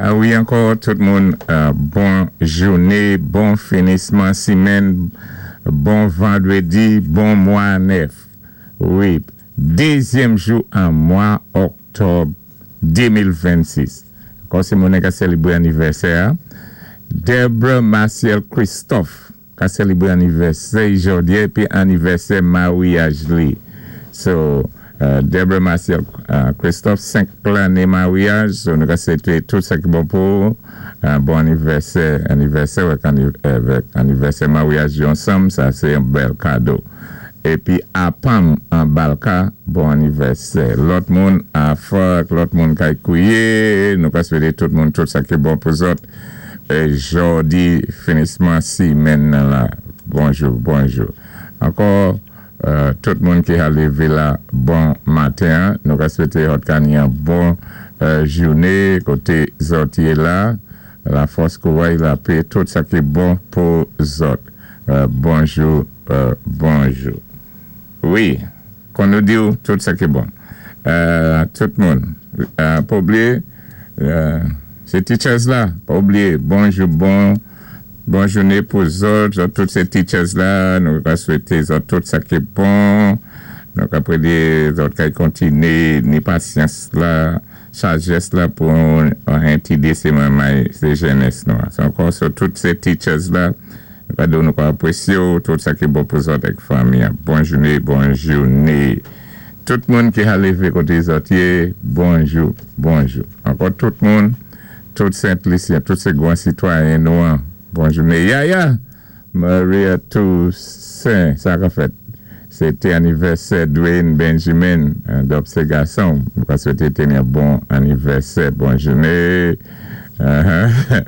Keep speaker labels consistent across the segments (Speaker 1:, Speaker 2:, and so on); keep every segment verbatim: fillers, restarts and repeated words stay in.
Speaker 1: Ah wi, ankò tout moun, euh, bon jouné, bon finisman simenn, bon vandrédi, bon mwa nèf. Wi, dézyèm jou an mwa òktòb de mil vennsis. Kon sé moun ka sélébwé anivèsè. Deborah Marciel Christophe ka sélébwé anivèsè jòdi épi anivèsè maryaj li. So, uh, Deborah Marciel uh, Christophe, senk lanné maryaj, so nou ka swété tout sa ki bon pou uh, bon anivèsè, anivèsè avèk anivèsè maryaj ansanm, sa sé yon bèl kado. Épi Apam an Balka, bon anivèsè. Lòt moun a Fok, lòt moun kay Kouye, nou ka swété tout moun tout sa ki bon pou zòt. É jòdi, finisman simenn nan la. Bonjou, bonjou. Ankò, euh, tout moun ki a lévé la, bon maten. Nou ka swété zòt ka ni yon bon euh, jouné, koté zòt yé la. Lafòs, kouway, lapè, tout sa ki bon pou zòt. Euh, bonjou, euh, bonjou. Wi, kon nou di tout sa ki bon. Euh, tout moun, euh, pa oubliyé, euh, sé teachers la, pa oubliyé, bonjou, bon, bon jouné pou zòt, zòt, tout sé teachers la, nou ka swété zòt tout sa ki bon, nou ka prédé zòt ka kontiné, ni pasyans la, sajès la pou entidé sé manmay, sé jènès nou. So, ankò, so, tout sé teachers la, nou ka di nou ka apwésyé tout sa ki bon pou zòt ak fanmi. Bon jouné, bon jouné. Tout moun ki a lévé koté zòt yé, bonjou, bonjou. Ankò tout moun, tout Sent-Lisyen, tout sé gwan sitwayen nou an, bon jouné. Yaya, Maria Toussaint, sa ka fèt. Sété anivèsè Dwayne Benjamin, dòp sé gason. Nou ka swété teni yon bon anivèsè, bon jouné. Uh-huh.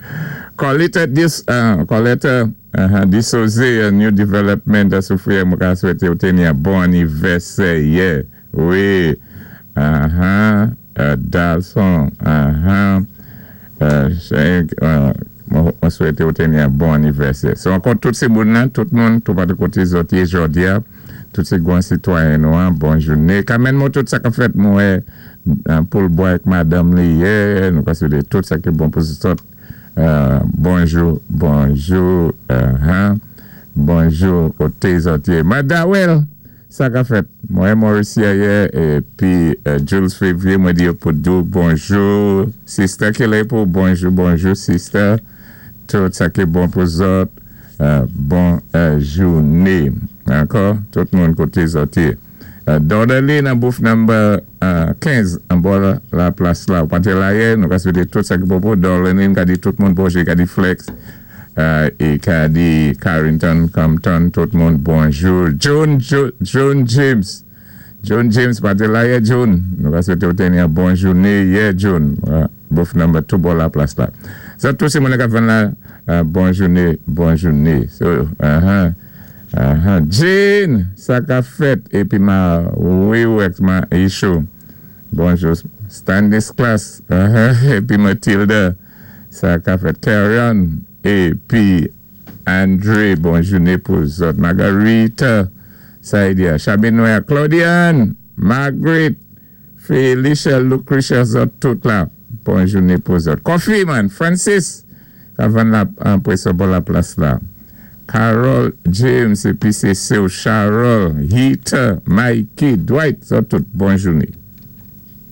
Speaker 1: Colette dis, uh, Colette uh, Disosé, New Development, Soufrière, mwen ka swété ou teni yon bon anivèsè, yeah. Wi. Uh-huh. Uh, Dalson, uh-huh. Uh, mwen swété ou teni yon bon anivèsè. So, ankò tout sé moun nan, tout moun, tout patou koté zòt yé jòdi a, tout sé gwan sitwayen nou an, bon jouné. Kamèn mwen tout sa ka fèt mwen pou l'boy ak madame li ye, nou ka swété tout sa ki bon pou zòt. Bonjou, bonjou, bonjou, koté zòt yé. Madawel, sa ka fèt. Mwen Mauricia ye, épi Jules Février, mwen di yo pou di ou bonjou. Sister Kelepo, bonjou, bonjou, sister. Tout sa ki bon pou zòt, bon jouné. Ankò, tout moun koté zòt yé. Dordeli nan booth number kenz an bò la plas la. Ou pa té la yé, nou ka swété tout sa ki bon pou Dordeli, ka di tout moun bonjou, ka di Flex, é ka di Carrington, Compton, tout moun bonjou. John, John James, John James pa té la yé, John. Nou ka swété ou teni yon bon jouné, yé, John. Booth number two bò la plas la. Sa tout sé moun ka ven la, bon jouné, bon jouné. So, uh-huh. Uh-huh. Jane, sa ka fèt, épi ma wiwek ma isho. Bonjou, Stanislas, uh-huh. Épi Matilda, sa ka fèt. Karen, épi Andre, bon jouné pou zòt. Margarita, sa y diya. Chabinoya, Claudiane, Margaret, Felicia, Lucretia, zòt tout la. Bon jouné pou zòt. Coffee man, Francis, ka van la, an bò la plas la. Carol James, épi sé Sue Charol, Heater, Mikey, Dwight, zòt tout, bon jouné.